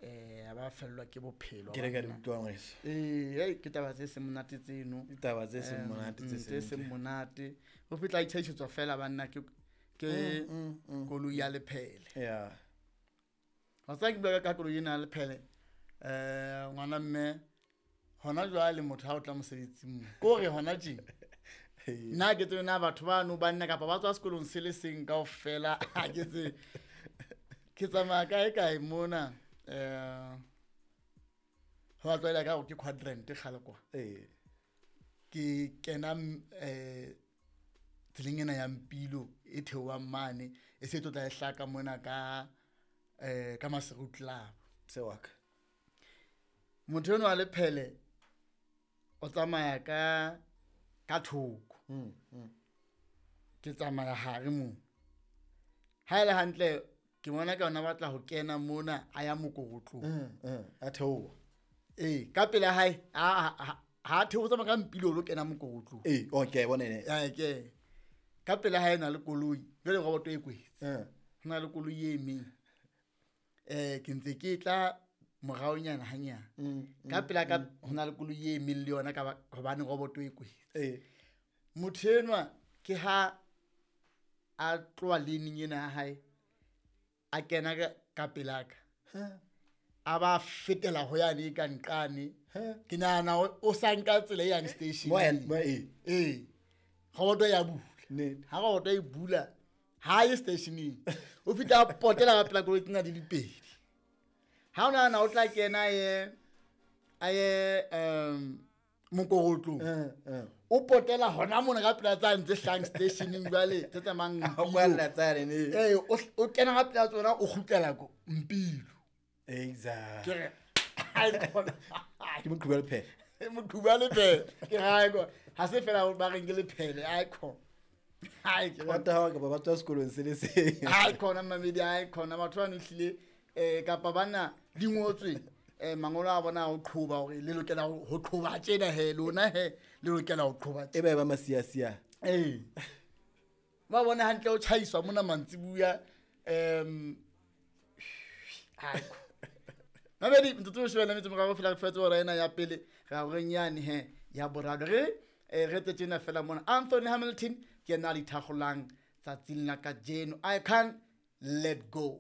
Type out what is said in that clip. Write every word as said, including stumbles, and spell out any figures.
Eh a ba fellwa ke bophelo. Ke le ka di utlwa ngwaneso. Eh, ke taba tse seng monate tseno. Ditaba tse seng monate tse tse seng monate. Ho fihla itjhaisetswa fela banna ke ke koloi ya lephele. Yeah. Wa tseba ke bua ka koloi ena ya lephele. Eh ngwana mme hona jwale motho ha o tla mosebetsing mo. Ko re hona tje. Nna ke tsebe na batho bano banna kapa ba tswa sekolong se le seng kaofela ha ke tsebe. Ke tsamaya kae kae mona. Eh ho tlwaela ka hore ke quadrant kgale kwa. Eh. Ke kena eh tseleng ena ya Mpilo e theohang mane e se tlo tla e hlaka mona ka eh ka Maseru Club. Se wa ka. Motho enwa lephele o tsamaya ka ka thoko. Mm, mm. Ke tsamaya hare mo. Ha ile hantle ke bona ka ona batla ho kena mona a ya mokorotlong. Mm, mm, a theoha. Eh, ka pele hae ha ha theoha tsamaya ka Mpilo lo kena mokorotlong. Eh, okay bona ene. Ya ke. Ka pele hae na le koloi, jwale roboto e kwetse. Mm. Hona le koloi e emeng. Eh, ke ntse ke tla moraonyana hanyane. Mm, Ka pela ka hona le koloi e emeng le yona ka hobane roboto e kwetse. Eh. Motho enwa ke ha a tloha lening ena ya hae a kena ka pela ka. A ba fetela ho yane ka nqane. Ke nahana o sa nka tsela e yang station. Mo mo e. Eh. Roboto ya bula. Ne. Ha roboto e bula ha ye stationeng. O fihla a potela ka pela koloi tsena di le pedi. Ha o nahana o tla kena ye a ye um mokorotlong. Eh eh. O potela hona mona ka pela tsa ntse hlang stationeng jwale tse tsamayang O kwalla tsane ne. Eh o kena ka pela tsona o kgutlela ko Mpilo. Exactly. Ke re ai khona. Ke moqhuba lephele. Moqhuba lephele. Ke ha ko ha se fela ba reng ke lephele ai khona. Ai ke rata ha ka ba tswa sekolong se le seng. Ai khona mamedi ai khona batho ba no hlile eh kapa bana di ngotswe eh mangolo a bona ho qhoba hore le lokela ho qhoba tjena he lona he le lokela ho qhoba e ba ba masiya siya. Eh ba bona hantle o tjhaiswa mona mantsibuya em ai Mamedi ntse o shebella metse morao fela re fetse hora ena ya pele ra horeng yane he ya boraro re re tse tjena fela mona Anthony Hamilton ke yena a di thakgolang tsatsing la kajeno. I can't let go.